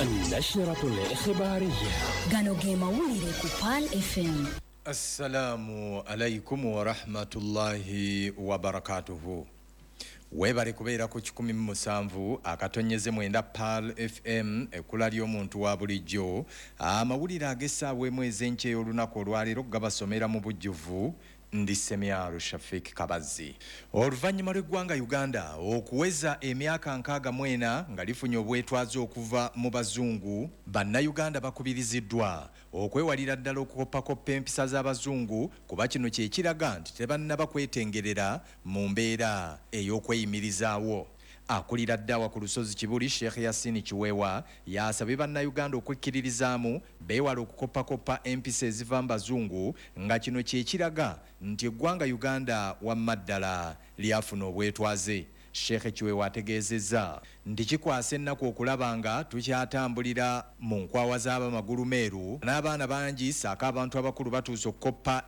النشرة الإخبارية. Gano ge mawulire ku Pearl FM. Assalamu alaikum warahmatullahi wabarakatuhu. Weebale kubeera ku 107.9 Pearl FM, ekkula ly'omuntu wa bulijjo. Amawulire ag'essaawa emu ez'enkya ey'olunaku olwaleero gabasomera mu bujjuvu ndi Semyalo Shafik Kabazi. Oluvannyuma lw'eggwanga Uganda okuweza emyaka 64 nga lifunye obwetwaze okuva mu bazungu, bannayuganda bakubiriziddwa okwewalira ddala okukopakoppa empisa z'abazungu, kuba kino kye kiraga nti tebannaba kwetengerera mu mbeera ey'okweyimirizaawo. Akulira ddawa ku lusozi Kibuli, Sheikh Yasin Kiweewa, yasabye bannayuganda okwekkiririzaamu beewale okukopakoppa empisa eziva mu bazungu, nga kino kye kiraga nti eggwanga Uganda wamma ddala lyafuna obwetwaze. Sheikh Kiweewa ategeezezza nti kikwasa ennaku okulaba nga tukyatambulira mu nkwawa z'abamagulu meeru n'abaana bangi ssaako abantu abakulu batuuse okukoppa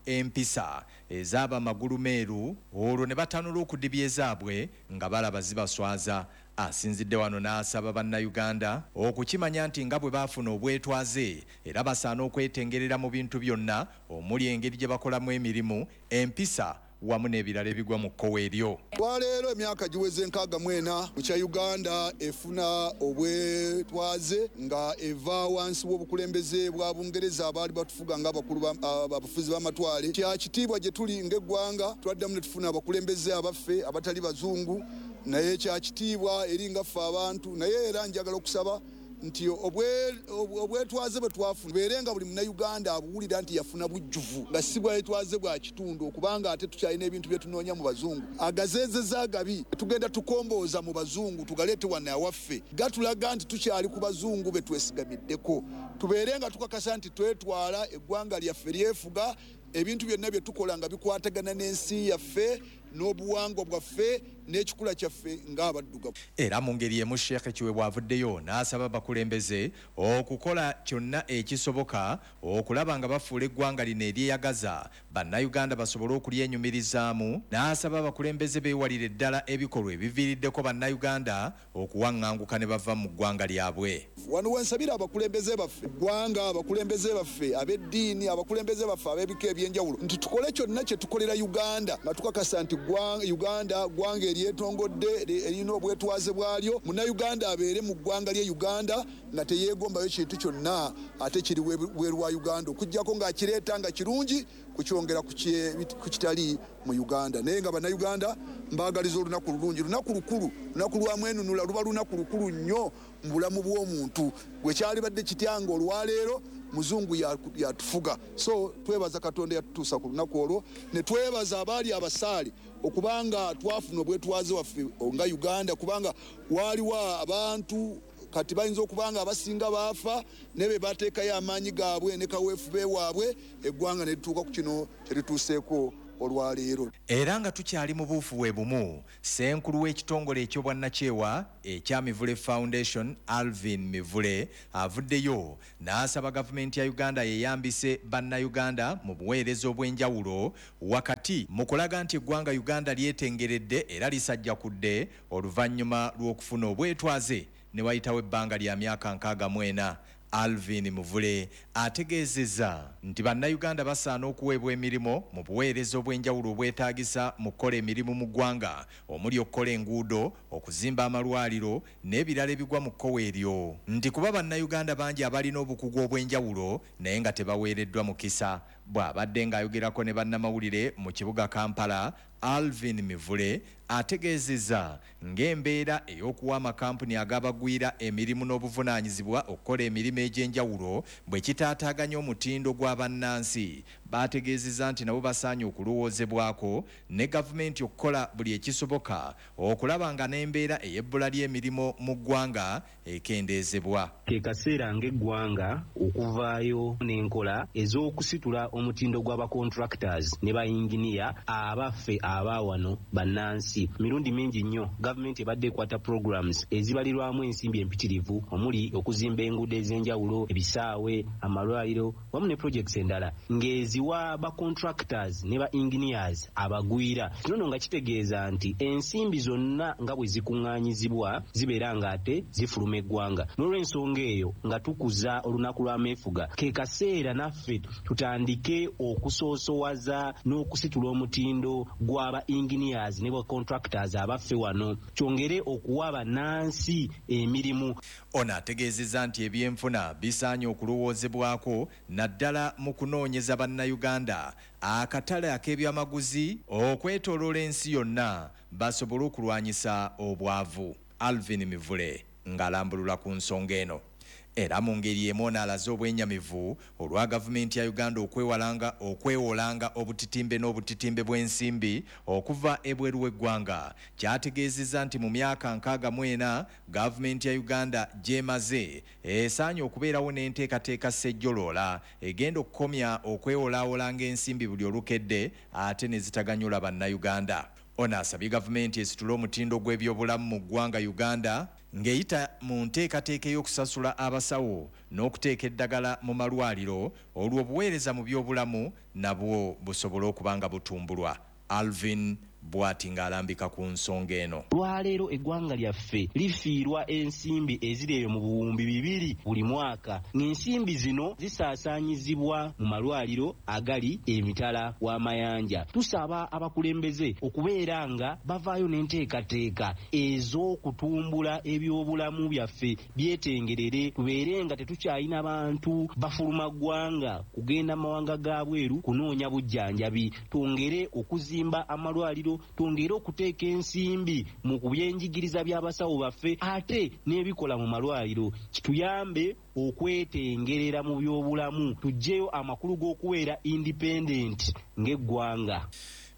empisa ez'abamagulu meeru, olwo ne batanula okudibya ezaabwe nga balaba zibaswaza. Asinzidde wano n'asaba bannayuganda okukimanya nti nga bwe baafuna obwetwaze era basaana okwetengerera mu bintu byonna omuli engeri gye bakolamu emirimu, empisa wamu n'ebirala ebigwa mu kkowe eryo. Olwaleero emyaka giweze 64 bukya Uganda efuna obwetwaze nga eva wansi w'obukulembeze bwa Bungereza abaali batufuga ng'abakulu abafuzi b'amatwale. Kya kitiibwa gye tuli ng'eggwanga, twaddamu ne tufuna abakulembeze abaffe abatali bazungu, naye kya kitiibwa eri nga ffe abantu. Naye era njagala okusaba nti obwetwaze bwe twafuna bubeere nga buli munnayuganda abuwulira nti yafuna bujjuvu, nga si bwetwaze bwa kitundu, okubanga ate tukyalina ebintu bye tunoonya mu bazungu. Agazeezeza agabi tugenda tukombooza mu bazungu tugaleete wano awaffe, gatulaga nti tukyali ku bazungu be twesigamiddeko. Tubeere nga tukakasa nti twetwala, eggwanga lyaffe lyefuga, ebintu byonna bye tukola nga bikwatagana n'ensi yaffe n'obuwangwa bwaffe n'ekikula kyaffe ng'abaddugavu. Era mu ngeri emu Sheikh Kiweewa avuddeyo n'asaba abakulembeze okukola kyonna ekisoboka okulaba nga bafuula eggwanga lino eryeyagaza bannayuganda basobole okulyenyumirizaamu, n'asaba abakulembeze beewalire ddala ebikolwa ebiviiriddeko bannayuganda okuwaŋŋanguka ne bava mu ggwanga lyabwe. Wano wensabira abakulembeze baffe eggwanga, abakulembeze baffe ab'eddiini, abakulembeze baffe ab'ebika ebyenjawulo nti tukole kyonna kye tukolera Uganda nga tukakasa nti Uganda ggwanga eryetongodde erina obwetwaze bwalyo. Munnayuganda abeere mu ggwanga lye Uganda nga teyeegombayo kintu kyonna ate kiri bweru wa Uganda, okuggyako ng'akireeta nga kirungi kukyongera ku kitali mu Uganda. Naye nga bannayuganda mbaagaliza olunaku lulungi, lunaku lukulu, lunaku lwa mwenunula, luba lunaku lukulu nnyo mu bulamu bw'omuntu. Gwe kyalibadde kitya nga olwaleero muzungu yatufuga. So twebaza Katonda yatutuusa ku lunaku olwo, ne twebaza abaali abasaale okubanga twafuna obwetwaze waffe nga Uganda, kubanga waaliwo abantu kati bayinza okubanga abasinga baafa naye be bateekayo amaanyi gaabwe ne kaweefube waabwe, eggwanga ne lituuka ku kino kye lituuseeko olwaleero. Era nga tukyali mu buufu bwe bumu, ssenkulu w'ekitongole eky'obwannakyewa ekya Mivule Foundation Alvin Mivule avuddeyo n'asaba gavumenti ya Uganda yeeyambise bannayuganda mu buweereza obw'enjawulo wakati mu kulaga nti eggwanga Uganda lyetengeredde era lisajjakudde oluvannyuma lw'okufuna obwetwaze ne wayitawo ebbanga lya myaka 64. Alvin Muvule ategeezezza nti bannayuganda basaana okuweebwa emirimu mu buweereza obw'enjawulo obwetaagisa mu kukola emirimu mu ggwanga omuli okukola enguudo, okuzimba amalwaliro n'ebirala ebigwa mu kkowe eryo, nti kuba bannayuganda bangi abalina obukugu obw'enjawulo naye nga tebaweereddwa mukisa. Bw'abadde ng'ayogerako ne bannamawulire mu kibuga Kampala, Alvin Mivule ategeezezza ng'embeera ey'okuwa amakampuni agabagwira emirimu n'obuvunaanyizibwa okukola emirimu egy'enjawulo bwe kitaataaganya omutindo gwa bannansi. Baategeezezza nti nabo basaanye okulowoozebwako ne gavumenti okukola buli ekisoboka okulaba nga n'embeera ey'ebbula ly'emirimu mu ggwanga ekendeezebwa. Ke kaseera ng'eggwanga okuvaayo n'enkola ez'okusitula omutindo gwa ba contractors ne ba yinginiya abaffe aba wano bannansi. Mirundi mingi nnyo gavumenti ebadde ekwata programs ezibalirwamu ensimbi empitirivu omuli okuzimba enguudo ez'enjawulo, ebisaawe, amalwaliro wamu ne projects endala ng'ezi Eziwa ba contractors ne ba engineers abagwira. Kino nno nga kitegeeza nti ensimbi zonna nga bwe zikuŋŋaanyizibwa zibeera ng'ate zifuluma eggwanga. N'olw'ensonga eyo nga tukuza olunaku lw'ameefuga, ke kaseera naffe tutandike okusoosowaza n'okusitula omutindo gw'aba engineers ne ba contractors abaffe wano, kyongere okuwa bannansi emirimu. Ono ategeezezza nti ebyenfuna bisaanye okulowoozebwako naddala mu kunoonyeza bannayuganda akatale ak'ebyamaguzi okwetooloola ensi yonna basobole okulwanyisa obwavu. Alvin Mivule ng'alambulula ku nsonga eno. Era mu ngeri y'emu ono alaze obwenyamivu olwa gavumenti ya Uganda okwewalanga okwewolanga obutitimbe n'obutitimbe bw'ensimbi okuva ebweru w'eggwanga ky'ategeezezza nti mu myaka 64 gavumenti ya Uganda gy'emaze esaanye okubeerawo n'enteekateeka ssejjoloola egenda okukomya okwewolaawolanga ensimbi buli olukedde ate ne zitaganyula bannayuganda. Ono asabye gavumenti esitule omutindo gw'ebyobulamu mu ggwanga Uganda ng'eyita mu nteekateeka ey'okusasula abasawo n'okuteeka eddagala mu malwaliro olwo obuweereza mu byobulamu nabwo busobole okuba nga butumbulwa. Alvin bw'ati ng'alambika ku nsonga eno. Lwaleero eggwanga lyaffe lifiirwa ensimbi eziri eyo mu 2000 buli mwaka, ng'ensimbi zino zisaasaanyizibwa mu malwaliro agali emitala w'amayanja. Tusaba abakulembeze okubeera nga bavaayo n'enteekateeka ez'okutumbula ebyobulamu byaffe byetengerere, tubeere nga tetukyalina bantu bafuluma ggwanga kugenda mu mawanga ga bweru kunoonya bujjanjabi, twongere okuzimba amalwaliro, twongere okuteeka ensimbi mu byenjigiriza by'abasawo baffe ate n'ebikola mu malwaliro, kituyambe okwetengerera mu byobulamu, tuggyeyo amakulu g'okubeera independent ng'eggwanga.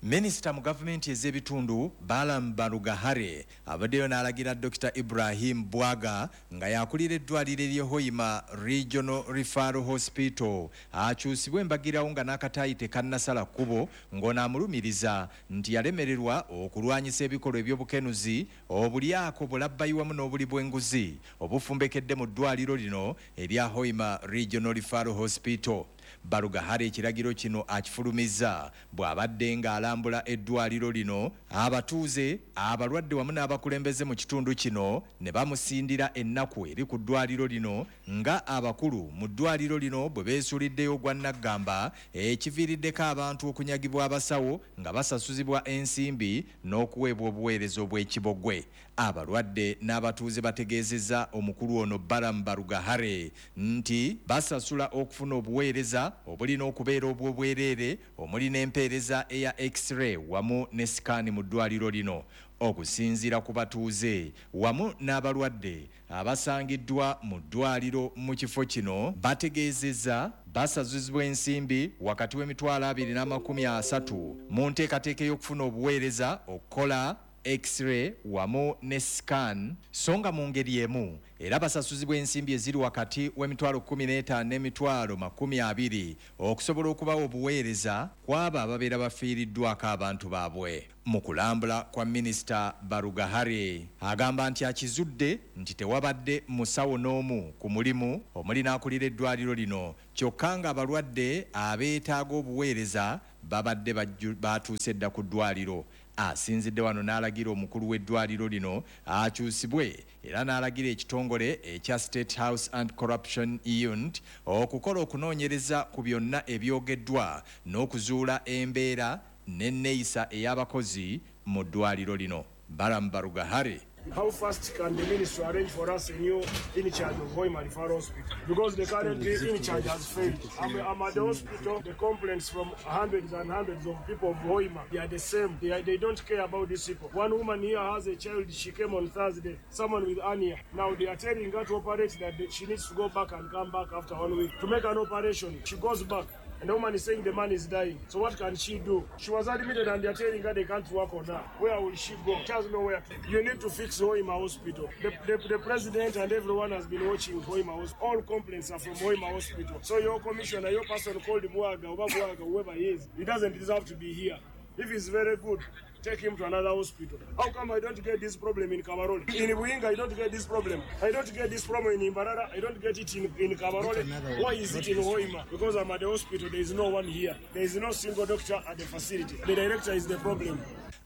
Minisita mu gavumenti ez'ebitundu Balaam Barugahare avuddeyo n'alagira Dokita Ibrahim Bwaga nga y'akulira eddwaliro ery'e Hoima Regional Referral Hospital akyusibwe embagirawo nga n'akataayi tekannasala kkubo ng'ono amulumiriza nti yalemererwa okulwanyisa ebikolwa eby'obukenuzi, obulyako, bulabbayi wamu n'obuli bw'enguzi obufumbekedde mu ddwaliro lino erya Hoima Regional Referral Hospital. Barugahare ekiragiro kino akifulumizza bw'abadde ng'alambula eddwaliro lino, abatuuze, abalwadde wamu n'abakulembeze mu kitundu kino ne bamusindira ennaku eri ku ddwaliro lino nga abakulu mu ddwaliro lino bwe beesuuliddeyo ogwa nnaggamba ekiviiriddeko abantu okunyagibwa abasawo nga basasuzibwa ensimbi n'okuweebwa obuweereza obw'ekibogwe. Abalwadde n'abatuuze bategeezezza omukulu ono Balaam Barugahare nti basasula okufuna obuweereza obulina okubeera obw'obwereere omuli n'empeereza eya X-ray wamu ne sikaani mu ddwaliro lino. Okusinziira ku batuuze wamu n'abalwadde abasangiddwa mu ddwaliro mu kifo kino bategeezezza basazuzibwa ensimbi wakati w'emitwalo 2 n'amakumi asatu mu nteekateeka ey'okufuna obuweereza okukola X-ray wamu ne scan, so nga mu ngeri emu era basasuzibwa ensimbi eziri wakati w'emitwalo 15 n'emitwalo 20 okusobola okubawa obuweereza ku abo ababeera bafiiriddwako abantu baabwe. Mu kulambula kwa minisita Barugahare agamba nti akizudde nti tewabadde musawo n'omu ku mulimu omuli n'akulira eddwaliro lino, kyokka ng'abalwadde abeetaaga obuweereza babadde batuuse dda ku ddwaliro. Asinzidde wano n'alagira omukulu w'eddwaliro lino akyusibwe era n'alagira ekitongole ekya State House Anti Corruption Unit okukola okunoonyereza ku byonna ebyogeddwa n'okuzuula embeera n'enneeyisa ey'abakozi mu ddwaliro lino. Balaam Barugahare. How fast can the ministry arrange for us a new in charge of Hoima Referral Hospital? Because the current in charge has failed. I'm at the hospital, the complaints from hundreds and hundreds of people of Hoima, they are the same. They don't care about these people. One woman here has a child, she came on Thursday, someone with hernia. Now they are telling her to operate that she needs to go back and come back after one week to make an operation. She goes back. And the woman is saying the man is dying. So what can she do? She was admitted and they are telling her they can't work on her. Where will she go? She has nowhere to. You need to fix Hoima Hospital. The president and everyone has been watching Hoima Hospital. All complaints are from Hoima Hospital. So your commissioner, your person called Mwaga, Oba Mwaga, whoever he is, he doesn't deserve to be here. If he's very good, Take him to another hospital. How come I don't get this problem in Kabarole? In Buhinga, I don't get this problem. I don't get this problem in Mbarara. I don't get it in Kabarole. Why is it in Hoima? Because I'm at the hospital, there is no one here. There is no single doctor at the facility. The director is the problem.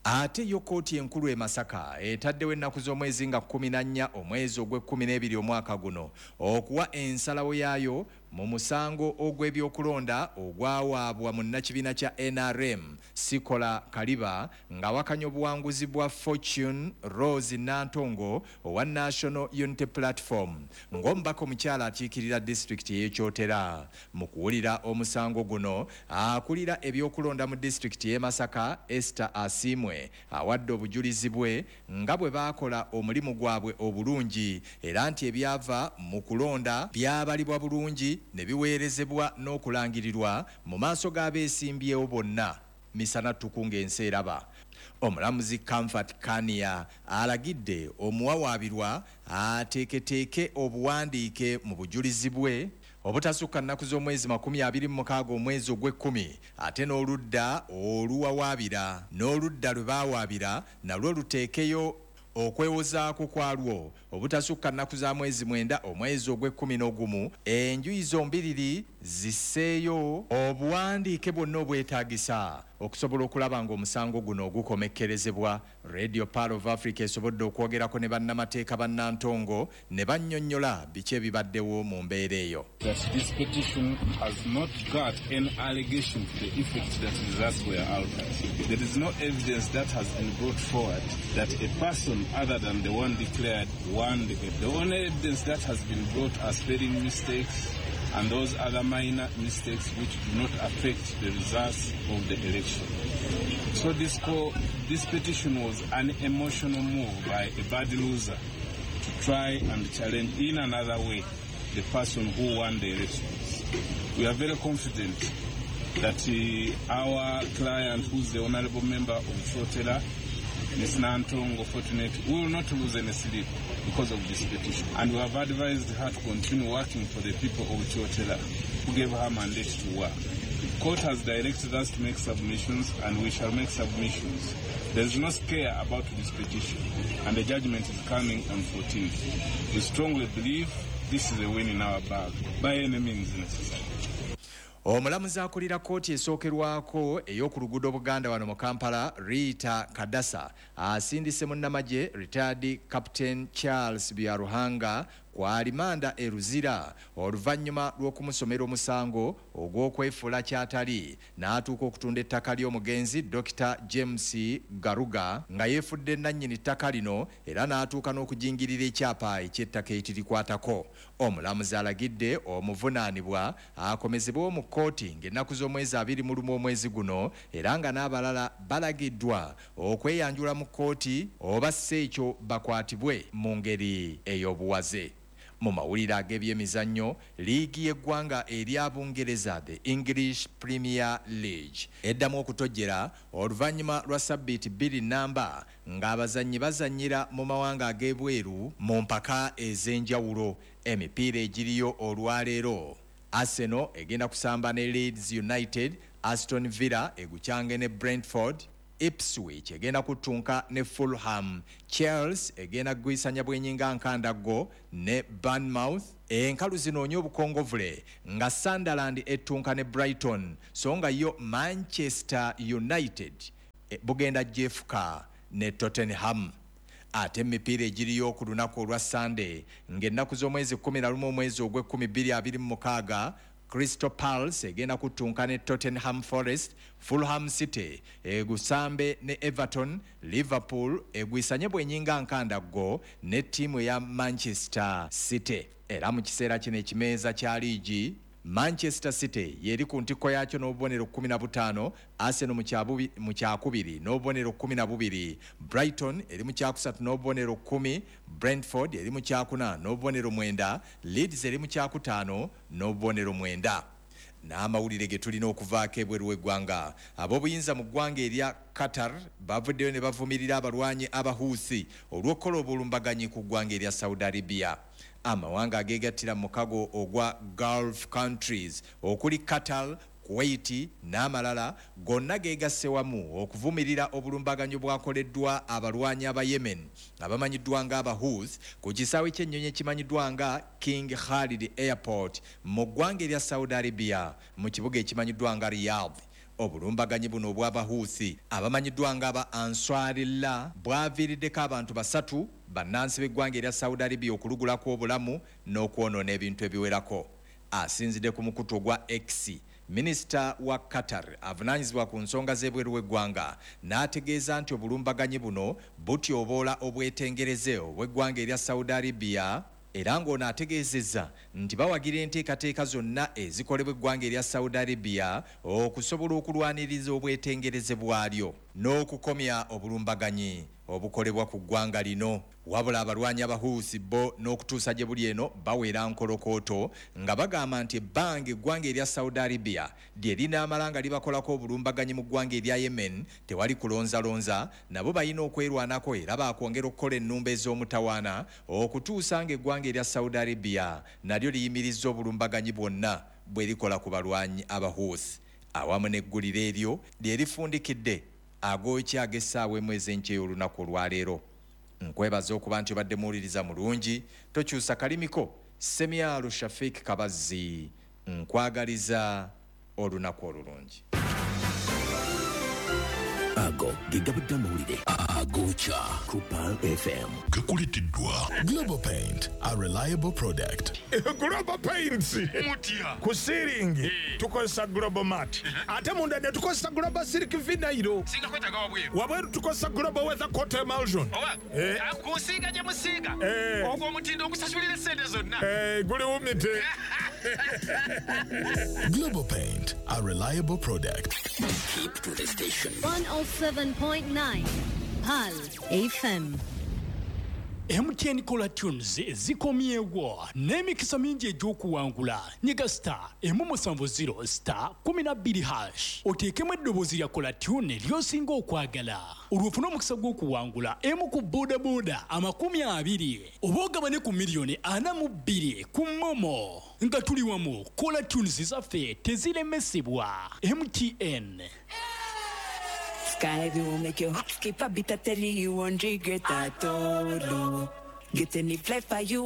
Ate yo kkooti enkulu e Masaka etaddewo ennaku z'omwezi nga 14 omwezi ogw'e12 omwaka guno okuwa ensalawo yaayo mu musango ogw'ebyokulonda ogwawaabwa munnakibiina kya NRM Sikola Kaliba ng'awakanya obuwanguzi bwa Fortune Rose Nantongo owa National Unity Platform ng'omubaka omukyala akiikirira disitulikiti y'e Kyotera. Mu kuwulira omusango guno, akulira ebyokulonda mu disitulikiti y'e Masaka Esther Asiimwe awadde obujulizi bwe nga bwe baakola omulimu gwabwe obulungi era nti ebyava mu kulonda byabalibwa bulungi ne biweerezebwa n'okulangirirwa mu maaso g'abeesimbyewo bonna misana ttuku ng'ensi eraba. Omulamuzi Comfort Kania alagidde omuwawaabirwa ateeketeeke obuwandiike mu bujulizi bwe obutasukka nnaku z'omwezi 26 omwezi ogw'ekkumi, ate n'oludda oluwawaabira n'oludda lwe baawaabira nalwo luteekeyo okwewozaako kwalwo obutasukka nnaku za mwezi 9 omwezi ogw'e11. Enjuyi zombiriri zisseeyo obuwandiike bwonna obwetaagisa okusobola okulaba ng'omusango guno ogukomekkerezebwa. Radio Pearl of Africa esobodde okwogerako ne bannamateeka bannantongo ne bannyonnyola biki ebibaddewo mu mbeera eyo. That this petition has not got any allegation to the effect that results were altered. There is no evidence that has been brought forward that a person other than the one declared won the The only evidence that has been brought are spelling mistakes and those other minor mistakes which do not affect the results of the election. So this petition was an emotional move by a bad loser to try and challenge in another way the person who won the elections. We are very confident that our client, who is the honorable member of Kyotera, Ms. Nantongo Fortunate, will not lose any sleep because of this petition. And we have advised her to continue working for the people of Kyotera who gave her mandate to work. Court has directed us to make submissions, and we shall make submissions. There is no scare about this petition, and the judgment is coming on 14th. We strongly believe this is a win in our bag, by any means necessary. Omulamuzi akulira kkooti esookerwako ey'oku luguudo Buganda wano mu Kampala, Rita Kadasa, asindise munnamagye retired Captain Charles Byaruhanga ku alimanda e Luzira oluvannyuma lw'okumusomera omusango ogw'okwefuula kyatali n'atuuka okutunda ettaka ly'omugenzi Dr. James Garuga nga yeefudde nannyini ttaka lino era n'atuuka n'okujingirira ekyapa eky'ettaka ekirikwatako. Omulamuzi alagidde omuvunaanibwa akomezebwewo mu kkooti ng'ennaku z'omwezi 21 omwezi guno era nga n'abalala balagiddwa okweyanjula mu kkooti oba si ekyo bakwatibwe mu ngeri ey'obuwaze. Mu mawulire ag'ebyemizannyo, liigi y'eggwanga erya Bungereza, the English Premier League, eddamu okutojjera oluvannyuma lwa sabbiiti 2 namba ng'abazannyi bazannyira mu mawanga ag'ebweru mu mpaka ez'enjawulo. Emipiira egiriyo olwaleero, Arsenal egenda kusamba ne Leeds United, Aston Villa egucyange ne Brentford, Ipswich egenda kutunka ne Fulham, Chelsea egenda kugwisanya bwenyinga nkandaggo ne Bournemouth. Enkalu zinoonya obukongovule nga Sunderland ettunka ne Brighton, so nga yo Manchester United bugenda jefuka ne Tottenham. Ate emipiira egiriyo ku lunaku olwa Sunday ng'ennaku z'omwezi 11 omwezi ogw'e2026, Crystal Palace egenda kutunka ne Tottenham Forest, Fulham City egusambe ne Everton, Liverpool egwisanye bwenyinga nkandaggo ne ttiimu ya Manchester City. Era mu kiseera kino ekimeeza kya liigi, Manchester City yeri ku ntikko yakyo n'obubonero 15, Arsenal mu kyakubiri n'obubonero 12, Brighton eri mu kyakusatu n'obubonero 10, Brentford eri mu kyakuna n'obubonero 9, Leeds eri mu kyakutaano n'obubonero 9. N'amawulire ge tulina okuvaako ebweru w'eggwanga, ab'obuyinza mu ggwanga erya Qatar bavuddeyo ne bavumirira abalwanyi Abahuusi olw'okukola obulumbaganyi ku ggwanga erya Saudi Arabia. Amawanga ageegattira mu mukago ogwa Gulf countries okuli Qatar, Kuwait n'amalala gonna geegasse wamu okuvumirira obulumbaganyi bwakoleddwa abalwanyi aba Yemen abamanyiddwa nga Abahouthi ku kisaawe ky'ennyonyi ekimanyiddwa nga King Khalid Airport mu ggwanga erya Saudi Arabia mu kibuga ekimanyiddwa nga Riyadh. Obulumbaganyi buno obw'Abahuuthi abamanyiddwa nga aba Ansarullah bwaviiriddeko abantu 3 bannansi b'eggwanga erya Saudi Arabia okulugulako obulamu n'okwonoona ebintu ebiwerako. Asinzidde ku mukutu ogwa X, minisita wa Qatar avunaanyizibwa ku nsonga z'ebweru w'eggwanga n'ategeeza nti obulumbaganyi buno butyoboola obwetengereze obw'eggwanga erya Saudi Arabia, era ng'ono ategeezezza nti bawagira enteekateeka zonna ezikolebwa eggwanga erya Saudi Arabia okusobola okulwaniriza obwetengereze bwalyo n'okukomya obulumbaganyi obukolebwa ku ggwanga lino. Wabula abalwanyi Abahuusi bo n'okutuusa gye buli eno bawera nkolokooto nga bagamba nti ebbanga eggwanga erya Saudi Arabia lye linaamala nga libakolako obulumbaganyi mu ggwanga erya Yemen tewali kulonzalonza, nabo balina okwerwanako era baakwongera okukola ennumba ez'omutawaana okutuusa ng'eggwanga erya Saudi Arabia nalyo liyimirizza obulumbaganyi bwonna bwe likola ku balwanyi Abahuusi. Awamu n'eggulire eryo lye lifundikidde agookya ag'essaawa emu ez'enkya ey'olunaku olwaleero. Nkwebaza okuba nti obadde muwuliriza mulungi, tokyusa kalimiko. Semyalo Shafik Kabazzi nkwagaliza olunaku olulungi. Ago ge gabadde amawulire agokya ku Pearl FM. Gakuleteddwa Global Paint, a reliable product. Global Paints mutya ku siiringi tukozesa Global Mat, ate munda ne tukozesa Global Silk Vinyl. Singa kwetaaga wabweru. Wabweru tukozesa Global Weather Coat Emulsion. Oba kusiiga gye musiiga ogwo omutindo ogusasulira essente zonna. Guli wumite. Global Paint, a reliable product. Keep to the station. 107.9 Pearl FM. MTN Caller Tunes zikomyewo n'emikisa mingi egy'okuwangula. Nyiga star 170 star 12 hash oteekemu eddoboozi lya Caller Tune ly'osinga okwagala, olwo ofune omukisa gw'okuwangula emu ku bodaboda 20 oba ogabane ku miliyoni 42 ku MoMo. Nga tuli wamu, Caller Tunes zaffe teziremesebwa. MTN. Sky will make your heart skip a beat. I tell you, you won't regret at all. Get any flight for you.